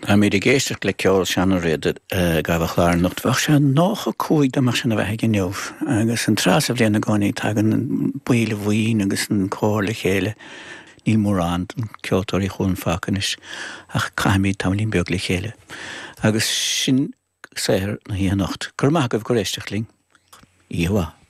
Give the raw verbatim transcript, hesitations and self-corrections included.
Táimid ag éisteacht le ceol Seán Ó Riada ag gabháil an chlár anocht. Bheadh sé nócha cúig dá mbeadh sé ina bheathaidh inniu, agus an tráth sa bhliain i gcónaí tagann baill an bhuíon agus an cór le chéile. Níl mórán ceoltóirí chugainn fágtha anois ach caithfimid tamaillín beag le chéile. Agus sin saothar na hoíche anocht. Go raibh maith agaibh gur éisteacht linn. Oíche mhaith.